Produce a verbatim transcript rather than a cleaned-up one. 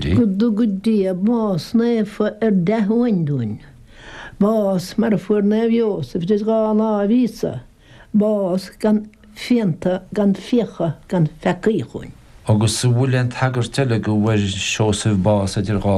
uirthi. Go dtuga Dia bás naofa ar dea-uain dúinn. Bás mar a fuair Naomh Iósaf idir dhá láimh Íosa, bás gan phianta gan fiacha gan pheacaí chugainn. Agus an bhfuil aon tagairt eile go bhfuair Seosamh bás idir dhá